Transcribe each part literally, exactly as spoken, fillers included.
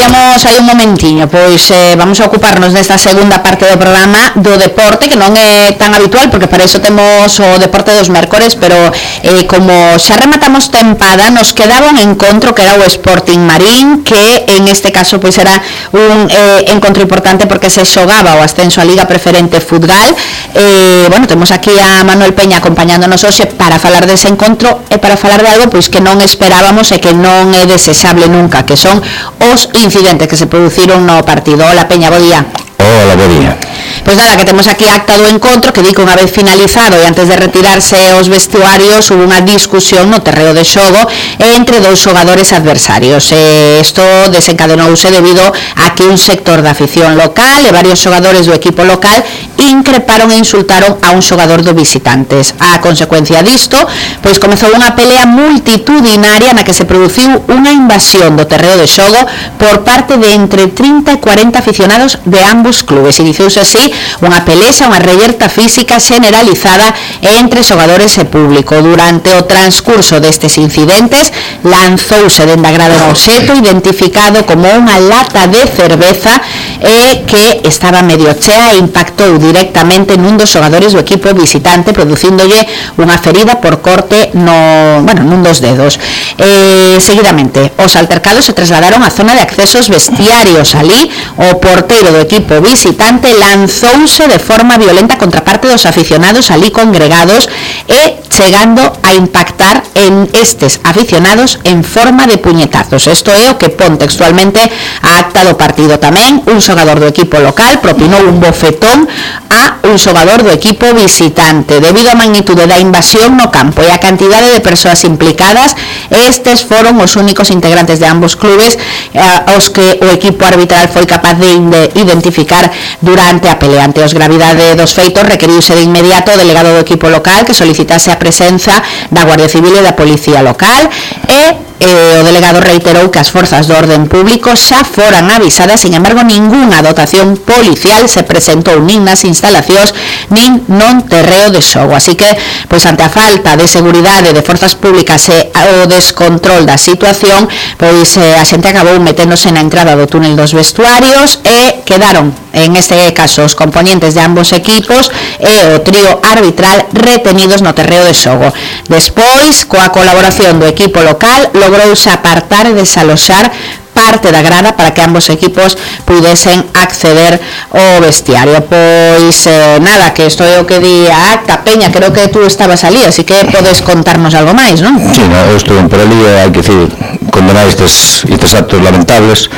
dicíamos hai un momentiño, pois eh, vamos a ocuparnos nesta segunda parte do programa do deporte, que non é tan habitual, porque para iso temos o deporte dos mércores, pero eh, como xa rematamos tempada, nos quedaba un encontro que era o Sporting Marín, que en este caso pois era un eh, encontro importante porque se xogaba o ascenso a Liga Preferente Futgal. Eh, bueno, temos aquí a Manuel Peña acompañándonos hoxe para falar dese encontro e para falar de algo pois que non esperábamos e que non é desexable nunca, que son os incidentes que se produciron no partido. Hola Peña, bo día. Hola, bo día. Pois nada, que temos aquí acta do encontro, que di que unha vez finalizado e antes de retirarse os vestuarios hubo unha discusión no terreo de xogo entre dous xogadores adversarios. E isto desencadenouse debido a que un sector da afición local e varios xogadores do equipo local increparon e insultaron a un xogador do visitantes. A consecuencia disto, pois comezou unha pelea multitudinaria na que se produciu unha invasión do terreo de xogo por parte de entre trinta e cuarenta aficionados de ambos clubes. Iniciouse así unha pelexa, unha reyerta física generalizada entre xogadores e público. Durante o transcurso destes incidentes lanzouse dende a grada un obxecto identificado como unha lata de cerveza e que estaba medio chea e impactou directamente nun dos xogadores do equipo visitante, producíndolle unha ferida por corte no, bueno, nun dos dedos. Eh, seguidamente, os altercados se trasladaron á zona de accesos vestiarios. Ali, o porteiro do equipo visitante lanzouse de forma violenta contra parte dos aficionados ali congregados e chegando a impactar en estes aficionados en forma de puñetazos. Isto é o que pon textualmente a acta do partido. Tamén un xogador do equipo local propinou un bofetón a un xogador do equipo visitante. Debido á magnitude da invasión no campo e a cantidade de persoas implicadas, estes foron os únicos integrantes de ambos clubes eh, os que o equipo arbitral foi capaz de identificar durante a pelea. Ante os gravidade dos feitos, requeriuse de inmediato o delegado do equipo local que solicitase a presenza da Guardia Civil e da Policía Local e Eh, o delegado reiterou que as forzas do orden público xa foran avisadas. Sin embargo, ningunha dotación policial se presentou nin nas instalacións nin non terreo de xogo. Así que, pois ante a falta de seguridade de forzas públicas e o descontrol da situación, pois eh, a xente acabou meténdose na entrada do túnel dos vestuarios e quedaron, en este caso, os componentes de ambos equipos e o trío arbitral retenidos no terreo de xogo. Despois, coa colaboración do equipo local, logrouse apartar e desaloxar parte da grada para que ambos equipos pudesen acceder ao vestiario. Pois eh, nada, que isto é o que di a acta. Peña, creo que tú estabas ali, así que podes contarnos algo máis, non? Sí, no, eu estuve por ali, hai que decir, condenar estes, estes actos lamentables,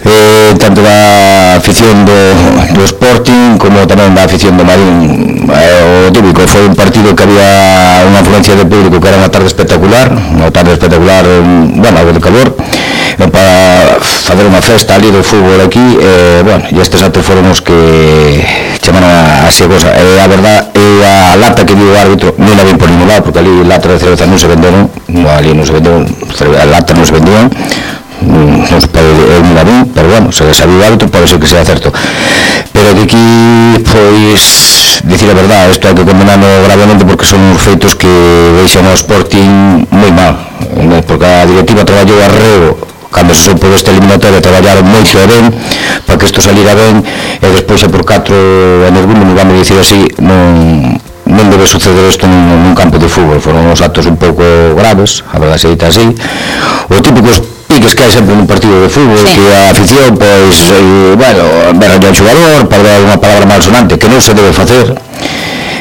eh, tanto da afición do, do Sporting como tamén da afición do Marín. Eh, o típico, foi un partido que había unha afluencia de público que era unha tarde espectacular, unha tarde espectacular, bueno, algo de calor, eh, para fazer unha festa ali do fútbol aquí, eh, bueno, e estes actos foron os que chamaron a así a cosa. E a verdad, e a lata que dio o árbitro non la vi por ningún lado, porque ali lata de cerveza non se venderon, no, ali non se venderon, a lata non se vendían, non se pode eliminar un, pero bueno, se sabía o árbitro, pode ser que sea certo. Pero de aquí, pois, dicir a verdade, isto hai que condenarlo gravemente porque son os feitos que deixan ao Sporting moi mal, porque a directiva traballou arreo cando se soupo desta eliminatoria, traballaron moito e ben para que isto salira ben, e despois é por catro anos non vamos dicir así, non non debe suceder isto nun, nun campo de fútbol. Foron os actos un pouco graves, a verdade se dita así, o típicos piques que hai sempre nun partido de fútbol, sí, que a afición, pois, eh, bueno, berra ao xogador, para dar unha palabra malsonante que non se debe facer.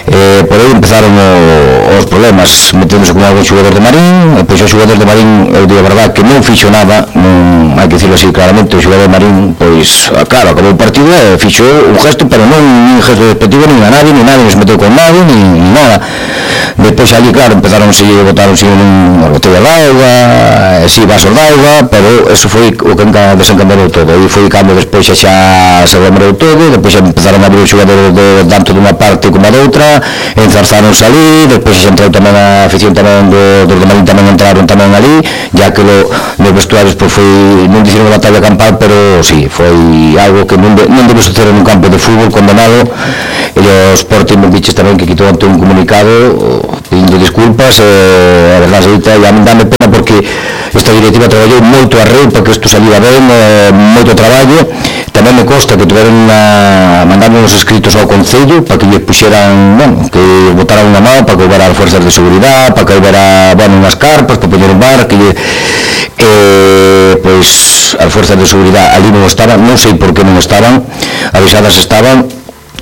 Eh, por aí empezaron o, os problemas, meténdose con algún xogador de Marín, e pois o xogador de Marín, eu digo a verdade que non fixo nada, non hai que dicirlo así claramente, o xogador de Marín, pois, claro, acabou o partido e fixo un gesto, pero non un gesto despectivo nin a nadie, nin nadie se meteu con nadie, nin, nin nada. Despois ali, claro, empezaron a seguir, botaron sin unha botella de auga, e si vasos de auga, pero eso foi o que desencadeou todo, e foi cando despois xa xa se remorou todo, despois xa empezaron a abrir os xogadores de, tanto dunha parte como a doutra, enzarzáronse ali, despois xa entrou tamén a afición tamén do, dos de Marín tamén entraron tamén ali, ya que lo, nos vestuarios pois foi non dixeron a batalla campal, pero sí, foi algo que non, de, non debe suceder nun campo de fútbol condenado. E o Sporting me diches tamén que quitou ante un comunicado pedindo disculpas, e a verdade é que a mí dame pena porque esta directiva traballou moito a reu para que isto saliera ben, eh, moito traballo. Tamén me consta que tuveron a mandar uns escritos ao Concello para que lles puxeran, bueno, que botaran unha mão para que houbera as fuerzas de seguridade, para que houbera, bueno, unhas carpas para poñer un bar, que lle, eh, pois as fuerzas de seguridade ali non estaban, non sei por que non estaban, avisadas estaban.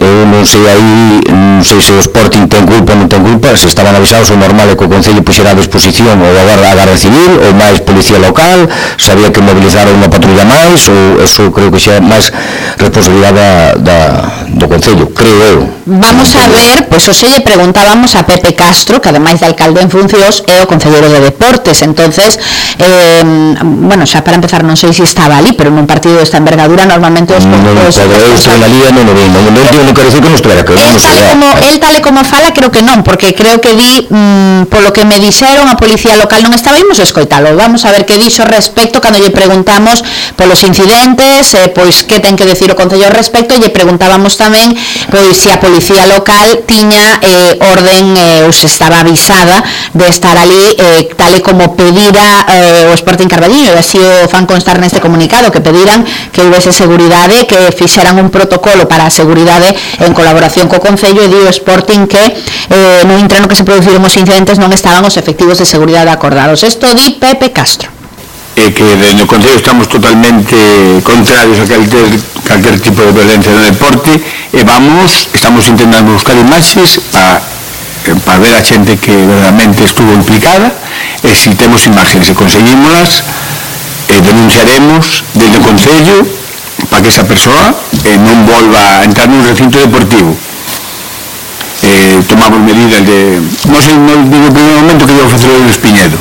Eu non sei aí, non sei se o Sporting ten culpa ou non ten culpa, se estaban avisados, o normal é que o Concello puxera a disposición ou a Garda Civil ou máis policía local, sabía que mobilizar unha patrulla máis, ou eso creo que xa é máis responsabilidade da, do Concello, creo eu. Vamos a ver, pois pues, o xe lle preguntábamos a Pepe Castro, que ademais de alcalde en funcións é o Concelleiro de Deportes, entonces eh, bueno, xa para empezar non sei se estaba ali, pero nun partido desta envergadura normalmente os non, non, eu estou na liga, non o vi, non, non, non quero dicir que non estuera, que non tal como, el tal e como fala, creo que non, porque creo que di, mmm, polo que me dixeron, a policía local non estaba, imos escoitalo, vamos a ver que dixo respecto cando lle preguntamos polos incidentes, eh, pois que ten que decir o Concello ao respecto, e lle preguntábamos tamén pois se a policía local tiña eh, orden eh, ou se estaba avisada de estar ali, eh, tal e como pedira eh, o Sporting Carballiño, e así o fan constar neste comunicado, que pediran que houvese seguridade, que fixeran un protocolo para a seguridade en colaboración co Concello, e di o Sporting que eh, no intrano que se produciron os incidentes non estaban os efectivos de seguridade acordados. Isto di Pepe Castro. E que no Concello estamos totalmente contrarios a calquer, calquer tipo de violencia no deporte, e vamos, estamos intentando buscar imaxes para para ver a xente que verdadeiramente estuvo implicada, e se temos imaxes e conseguímolas, eh, denunciaremos desde o Concello para que esa persoa eh, non volva a entrar nun recinto deportivo. Eh, tomamos medidas de... non sei, non digo en primeiro momento que iba a facer o Espiñedo,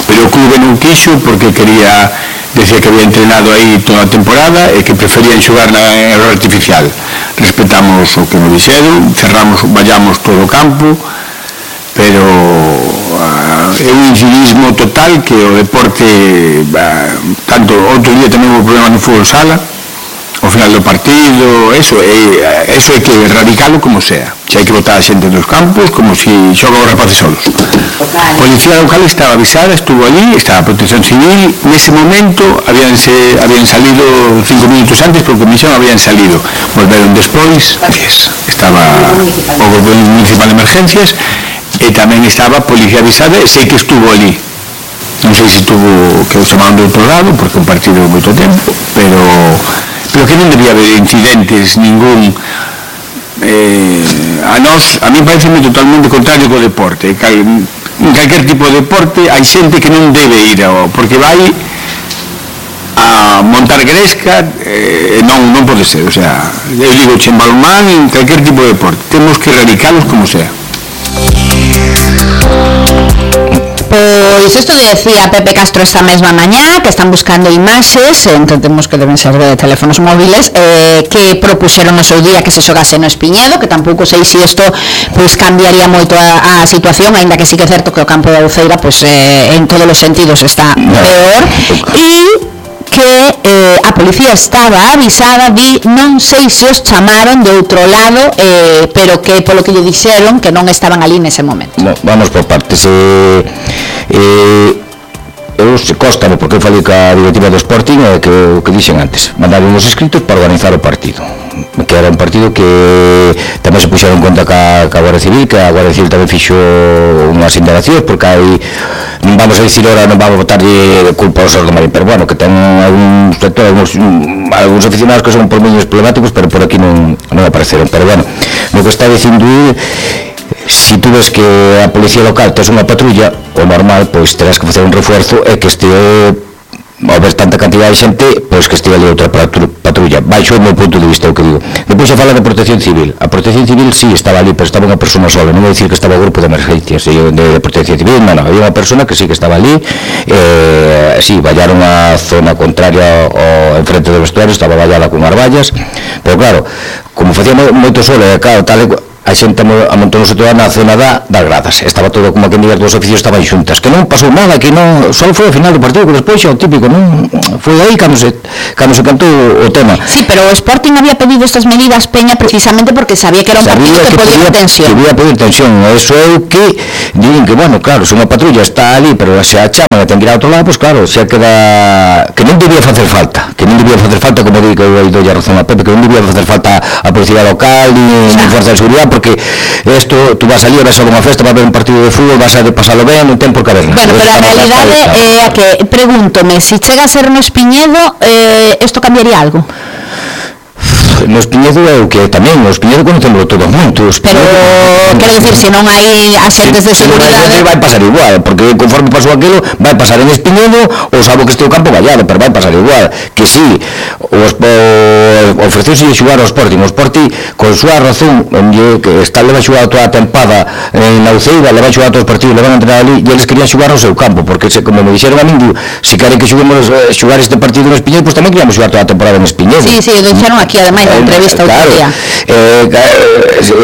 pero o clube non quixo porque quería, decía que había entrenado aí toda a temporada e que preferían xogar na error artificial. Respetamos o que nos dixeron, cerramos, vallamos todo o campo, pero uh, é un incivismo total que o deporte, uh, tanto outro día tamén houve problema no fútbol sala, ao final do partido, eso é, eso é que erradicalo como sea. Se hai que botar a xente dos campos como se xogan os rapaces solos. A policía local estaba avisada, estuvo allí, estaba a protección civil, nese momento habían, se, habían salido cinco minutos antes, porque comisión habían salido, volveron despois, estaba o Goberno Municipal de Emergencias, e tamén estaba a policía avisada, e sei que estuvo allí. Non sei se estuvo, que o chamaron de outro lado, porque un partido moito tempo, pero... pero que non debía haber incidentes ningún. Eh, a nós, a mí pareceme totalmente contrario co deporte. Cal, en calquer tipo de deporte hai xente que non debe ir ao, porque vai a montar gresca, eh, non, non pode ser, o sea, eu digo en balonmán, en calquer tipo de deporte temos que erradicalos como sea. Pois isto decía Pepe Castro esta mesma mañá, que están buscando imaxes, entendemos que deben ser de teléfonos móviles, eh, que propuxeron no seu día que se xogase no Espiñedo, que tampouco sei se isto pois cambiaría moito a, a situación, aínda que sí que é certo que o campo da Uceira pois, eh, en todos os sentidos está peor, e que eh, a policía estaba avisada, di, non sei se os chamaron de outro lado, eh, pero que polo que lle dixeron que non estaban ali nese momento. No, vamos por partes. Eh, eh, eu se constame, porque eu falei ca directiva do Sporting, eh, que o que dixen antes, mandaron os escritos para organizar o partido, que era un partido que tamén se puxeron en conta ca, ca Guardia Civil, que a Guardia Civil tamén fixo unhas indagacións, porque hai, vamos a dicir ahora, non vamos a botarlle culpa aos do Marín, pero bueno, que ten algún sector, algúns, algúns aficionados que son por menos problemáticos, pero por aquí non, non apareceron. Pero bueno, no que está dicindo, si tú ves que a policía local tes unha patrulla, o normal, pois terás que facer un refuerzo e que este ao ver tanta cantidad de xente, pois que estive ali outra patrulla, baixo o meu punto de vista, o que digo. Depois se fala de protección civil. A protección civil sí estaba ali, pero estaba unha persona sola, non vou dicir que estaba o grupo de emergencias de, de protección civil, non, non, había unha persona que sí que estaba ali, eh, sí, vallaron a zona contraria ao enfrente do vestuario, estaba vallada con as vallas, pero claro, como facía moito sol, e claro, tal e a xente amontonouse toda na zona da, das gradas, estaba todo como que en dos oficios estaban xuntas, que non pasou nada, que non, só foi ao final do partido, que despois xa o típico, non, foi aí cando se, cando se cantou o tema. Sí, pero o Sporting había pedido estas medidas, Peña, precisamente porque sabía que era un sabía partido que, que podía ter tensión. Que podía pedir tensión, eso é o que dirían que, bueno, claro, se unha patrulla está ali, pero se a chama e ten que ir a outro lado, pois pues, claro, xa queda, que non debía facer falta, que non debía facer falta, como di que eu doi a razón a Pepe, que non debía facer falta a policía local, ni, ni fuerza de seguridad, porque esto, tú vas ali, vas a unha festa, vas a ver un partido de fútbol, vas a pasalo ben, non ten por que haber nada. Bueno, pero a realidade é a que, pregúntome, se si chega a ser no Espiñedo, eh, isto cambiaría algo? No Espiñedo é o que tamén, no Espiñedo conocemos todo moito. Pero, quero dicir, se non hai axentes de seguridade... vai pasar igual, porque conforme pasou aquilo, vai pasar en Espiñedo, ou salvo que este o campo vallado, pero vai pasar igual. Que si, ofreceuse xugar ao Sporting, o Sporting, con súa razón, que está leva xugado toda a tempada en Nauceira, leva xugado todos os partidos, levan a entrenar ali, e eles querían xugar ao seu campo, porque, como me dixeron a min, se queren que xuguemos xugar este partido en Espiñedo, pois tamén queríamos xugar toda a temporada en Espiñedo. Sí, sí, dixeron aquí, ademais, na entrevista claro, outro día. Eh,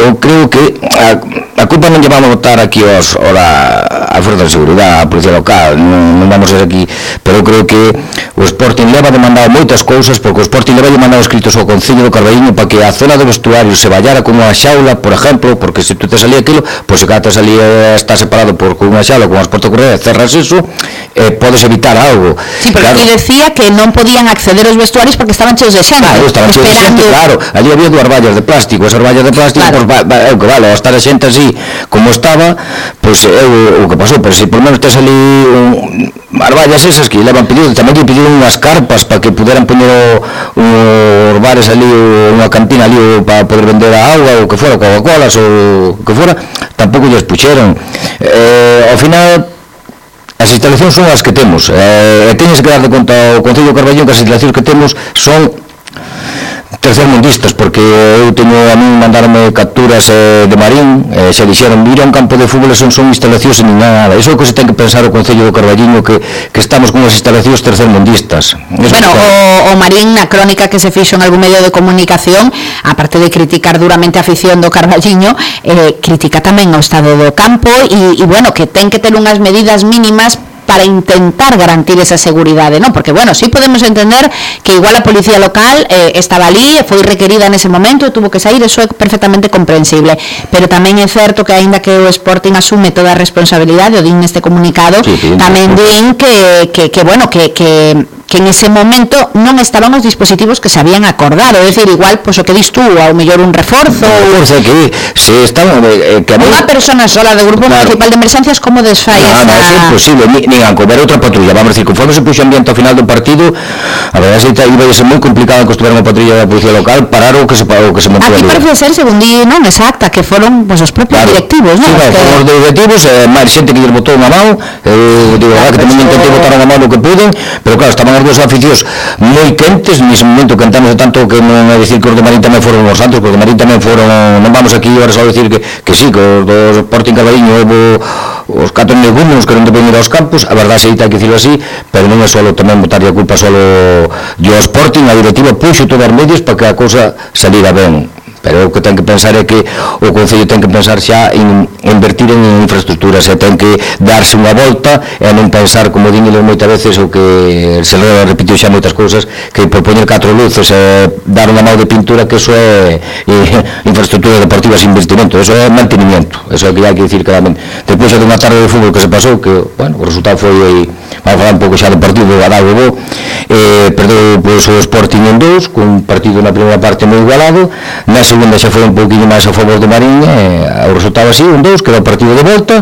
eu creo que a, a culpa non lle vamos a botar aquí aos, ora, a Fuerza de Seguridade, a Policía Local, non, non vamos a ser aquí, pero eu creo que o Sporting leva demandado moitas cousas, porque o Sporting leva demandado escritos ao Concello do Carballiño para que a zona do vestuario se vallara con unha xaula, por exemplo, porque se tú te salía aquilo, pois se cada te salía, está separado por con unha xaula, con as portas correas, cerras eso, eh, podes evitar algo. Sí, pero claro, aquí decía que non podían acceder aos vestuarios porque estaban cheos de xente, claro, estaban cheos de xente, claro, allí había dúas vallas de plástico, esas vallas de plástico, claro, pues, é o que vale, ao estar a xente así como estaba, pois pues, é o, o que pasou, pero se por menos tes ali un, as vallas esas que levan pedido, tamén que pediron unhas carpas para que puderan poñer os bares ali, unha cantina ali para poder vender a auga, ou que fora, Coca-Colas ou que fora, tampouco lles puxeron. Eh, ao final as instalacións son as que temos, eh, e teñes que dar de conta ao Concello de Carballiño que as instalacións que temos son tercermundistas, porque eu teño a mí mandarme capturas eh, de Marín, eh, se dixeron ir a un campo de fútbol son, son instalacións nin nada, iso é o que se ten que pensar o Concello do Carballiño, que, que estamos con as instalacións tercermundistas. Eso bueno, o, o Marín na crónica que se fixo en algún medio de comunicación, aparte de criticar duramente a afición do Carballiño, eh, critica tamén o estado do campo e, e bueno, que ten que ter unhas medidas mínimas para intentar garantir esa seguridade, ¿no? Porque, bueno, sí podemos entender que igual a policía local eh, estaba ali, foi requerida nese momento e tuvo que sair, eso é perfectamente comprensible, pero tamén é certo que aínda que o Sporting asume toda a responsabilidade, o din neste comunicado, sí, sí, tamén din que, que, que bueno, que, que que en ese momento non estaban os dispositivos que se habían acordado, é dicir, igual, pois o que dis tú, ao mellor un reforzo, ou sea, que se estaban eh, que unha persona sola do Grupo claro. Municipal de Emergencias, como desfai no, esa... Non, é imposible, ni, ni a comer outra patrulla, vamos a decir, conforme se puxo ambiente ao final do partido, a verdade é que iba a ser moi complicado que estuviera unha patrulla da Policía Local parar o que se, o que se montou ali. Aquí parece ser, según di, non, exacta, que foron, pois, os propios claro. directivos, non? Sí, claro, que... os directivos, eh, máis xente que lles botou unha mão, eu digo, claro, que tamén intentei botar unha mão no que puden, pero claro, estaban os dos aficios moi quentes, nese momento cantamos tanto que non é dicir que os de Marín tamén foron os santos, porque os de Marín tamén foron, non vamos aquí ahora só dicir que, que sí, que os dos Sporting Carballiño houve os catro negumos que non te poden ir aos campos, a verdade se hai que dicirlo así, pero non é só tamén botar a culpa só do Sporting, a directiva puxo todas as medios para que a cousa salira ben. Pero o que ten que pensar é que o Concello ten que pensar xa en invertir en infraestructuras, e ten que darse unha volta e non pensar, como díñeles moitas veces, o que se repitiu xa moitas cousas, que por poñer catro luces e dar unha mão de pintura, que eso é infraestructura deportiva sin investimento, eso é mantenimiento, eso é que hai que dicir claramente. Depois de unha tarde de fútbol que se pasou, que, bueno, o resultado foi, vamos a falar un pouco xa do partido do Adalgo Bo, eh, perdeu pois, o Sporting en dous, con un partido na primeira parte moi igualado, na segunda xa foi un pouquinho máis a favor do Marín, eh, o resultado así, un dous, que era o partido de volta,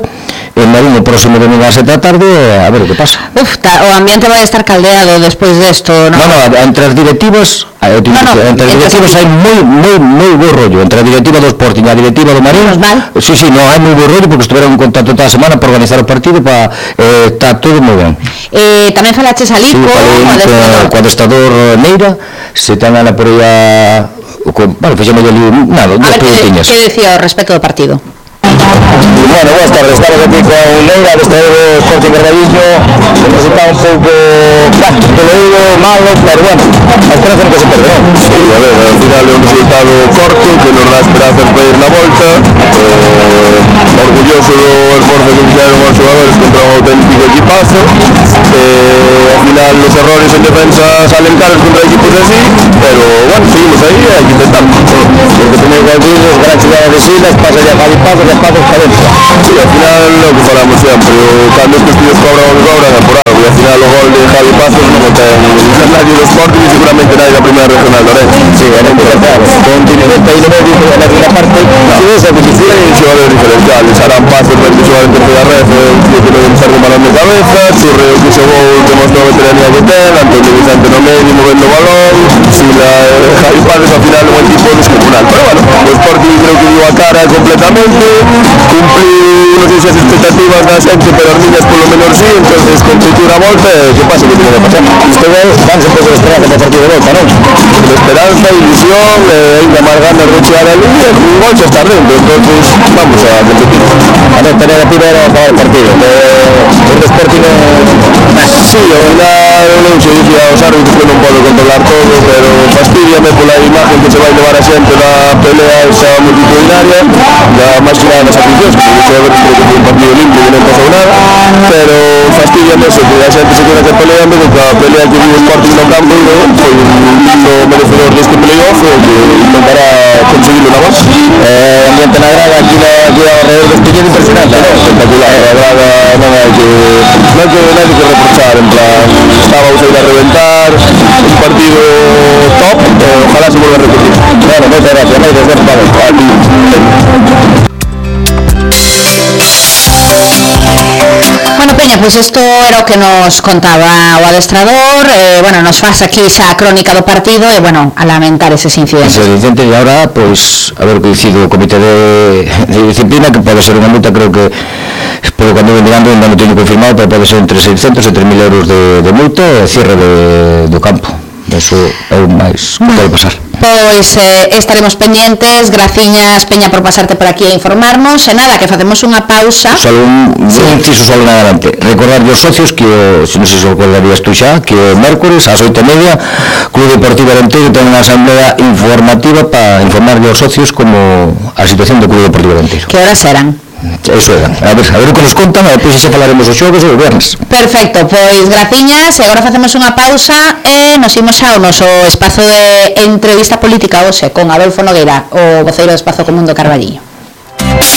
en Marín o próximo domingo a sete da tarde, a ver o que pasa. Uf, ta, o ambiente vai estar caldeado despois desto, non? No, no, entre as directivas, no, no, entre as directivas hai moi, moi, moi bo rollo, entre a directiva do Sporting e a directiva do Marín, sí, sí, no, hai moi bo rollo, porque estiveron en contacto toda a semana para organizar o partido, para, eh, está todo moi ben. Eh, tamén falaches ali sí, co adestrador Neira, se ten a por aí a... Bueno, fixemos ali nada, dos preguntiñas. A ver, que decía ao respecto do partido? Bueno, boas tardes, estamos aquí con Neira, adestrador do Sporting Carballiño, un resultado un pouco peleiro, malo, pero bueno, a esperanza non que se perde, non? Sí, a ver, ao final é un resultado corto que nos dá esperanza hacer para ir na volta, eh, orgulloso do esforzo que fixeron os xogadores contra un auténtico equipazo, eh, ao final os errores en defensa salen caros contra equipos así, pero bueno, seguimos aí e hai que intentar, porque tenéis que decir, os gran xogadas de Silas, pasa ya Javi Pazo, que Pazo está dentro. Sí, ao final lo que falamos sempre, cando estes tíos cobran o que cobran é por algo, e ao final o gol de Javi Pazo non o ten nadie do Sporting e seguramente nadie da primeira regional de Orense. Sí, era importante, con Tineveta aí no medio, na primeira parte, si esa difícil, hai xogadores diferenciales, Arán Pazo, que xogar en terceira red, que non enxerga un balón de cabeza, Churreo que xogou, demostrou a veteranía que ten, Antonio Vicente no medio, movendo o balón, Sila, Javi Pazo, ao final un equipo descomunal, pero bueno, o Sporting creo que dio a cara completamente, cumpliu, non sei se as expectativas da xente, pero as miñas polo menos sí, entonces competir a volta, que pasa que tiene que pasar. Isto é, vanse un pouco de esperanza para o partido de volta, non? De esperanza, ilusión, eh, ainda máis ganas de chegar a línea, un gol xa está dentro, entonces vamos a competir. A nota negativa era acabar o partido, eh, o Sporting sí, ao final non se dicía aos árbitros que non podo controlar todo, pero fastidiame pola imagen que se vai levar a xente da pelea esa multitudinaria, da máis que nada das aficións, que se vai ver que foi un partido limpio e non pasou nada, pero fastidiame eso, que a xente se queda que peleando, porque a pelea que vive o Sporting no campo foi un lindo merecedor deste playoff e que intentará conseguirlo na voz. Eh, ambiente na grada, aquí na alrededor do Espinheiro impresionante, ¿no? Espectacular, a grada non hai que non hai que, non hai que reprochar, en plan, estábamos a ir a reventar, un partido top, eh, ojalá se vuelva a repetir. Bueno, moitas gracias, moitas gracias, vamos, a ti. Bueno, Peña, pois pues isto era o que nos contaba o adestrador, eh, bueno, nos faz aquí esa crónica do partido e, bueno, a lamentar eses incidentes. Ese incidente e agora, pois, a ver o que dicido o comité de, de disciplina, que pode ser unha multa, creo que, pero cando ven mirando, ainda non teño confirmado, pero pode ser entre seiscentos e tres mil euros de, de multa e cierre de, do campo. Eso é o máis que pode pasar. Pois eh, estaremos pendientes. Graciñas, Peña, por pasarte por aquí a informarnos. E nada, que facemos unha pausa. Solo un sí. inciso solo nada adelante. Recordar aos socios que, se non sei se o recordarías tú xa, que o mércores ás oito e media Club Deportivo Arenteiro ten unha asamblea informativa para informar aos socios como a situación do Club Deportivo Arenteiro. Que horas eran? Eso era, a ver, a ver o que nos contan, e depois xa falaremos os xogos e os viernes. Perfecto, pois graciñas, e agora facemos unha pausa e nos imos ao noso espazo de entrevista política hoxe con Adolfo Nogueira, o voceiro do Espazo Común do Carballiño.